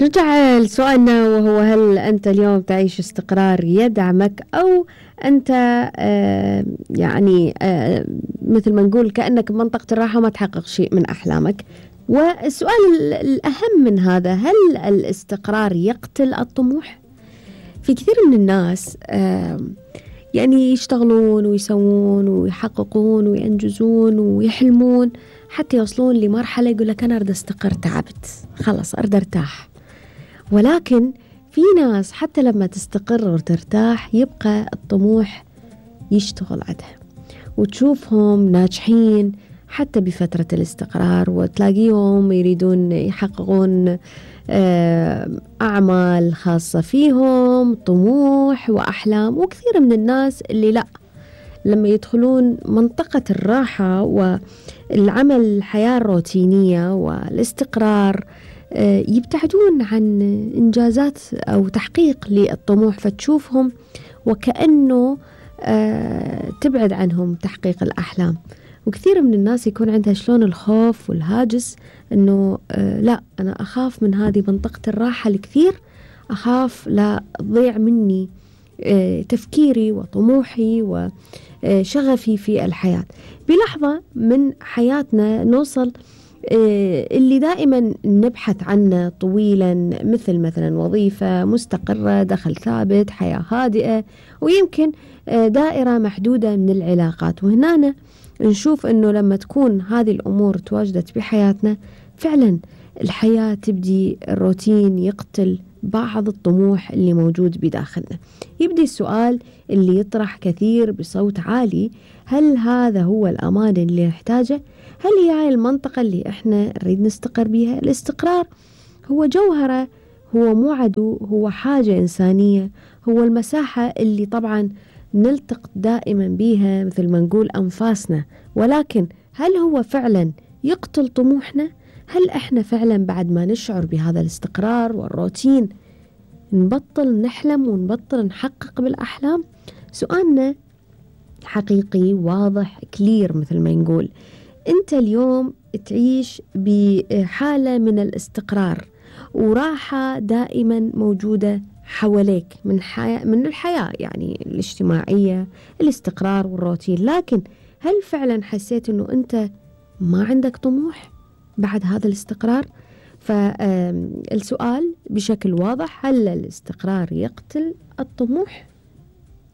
نرجع لسؤالنا وهو: هل أنت اليوم تعيش استقرار يدعمك، أو أنت مثل ما نقول كأنك بمنطقة الراحة ما تحقق شيء من أحلامك؟ والسؤال الأهم من هذا: هل الاستقرار يقتل الطموح؟ في كثير من الناس يشتغلون ويسوون ويحققون وينجزون ويحلمون حتى يوصلون لمرحلة يقول لك أنا أريد أستقر، تعبت خلاص أريد أرتاح. ولكن في ناس حتى لما تستقر وترتاح يبقى الطموح يشتغل عندها، وتشوفهم ناجحين حتى بفترة الاستقرار، وتلاقيهم يريدون يحققون أعمال خاصة فيهم، طموح وأحلام. وكثير من الناس اللي لا، لما يدخلون منطقة الراحة والعمل الحياة الروتينية والاستقرار يبتعدون عن إنجازات أو تحقيق للطموح، فتشوفهم وكأنه تبعد عنهم تحقيق الأحلام. وكثير من الناس يكون عندها شلون الخوف والهاجس إنه لا، أنا أخاف من هذه منطقة الراحة الكثير، أخاف لا تضيع مني تفكيري وطموحي وشغفي في الحياة. بلحظة من حياتنا نوصل اللي دائما نبحث عنه طويلا، مثلا وظيفة مستقرة، دخل ثابت، حياة هادئة، ويمكن دائرة محدودة من العلاقات. وهنا نشوف أنه لما تكون هذه الأمور تواجدت بحياتنا فعلا الحياة تبدي الروتين يقتل بعض الطموح اللي موجود بداخلنا. يبدي السؤال اللي يطرح كثير بصوت عالي: هل هذا هو الأمان اللي نحتاجه؟ هل هي هاي المنطقة اللي احنا نريد نستقر بيها؟ الاستقرار هو جوهرة، هو مو عدو، هو حاجة إنسانية، هو المساحة اللي طبعا نلتقط دائما بيها مثل ما نقول أنفاسنا. ولكن هل هو فعلا يقتل طموحنا؟ هل احنا فعلا بعد ما نشعر بهذا الاستقرار والروتين نبطل نحلم ونبطل نحقق بالأحلام؟ سؤالنا حقيقي واضح كلير. مثل ما نقول انت اليوم تعيش بحالة من الاستقرار وراحة دائما موجودة حواليك من الحياة الاجتماعية، الاستقرار والروتين. لكن هل فعلا حسيت انه انت ما عندك طموح بعد هذا الاستقرار؟ فالسؤال بشكل واضح: هل الاستقرار يقتل الطموح؟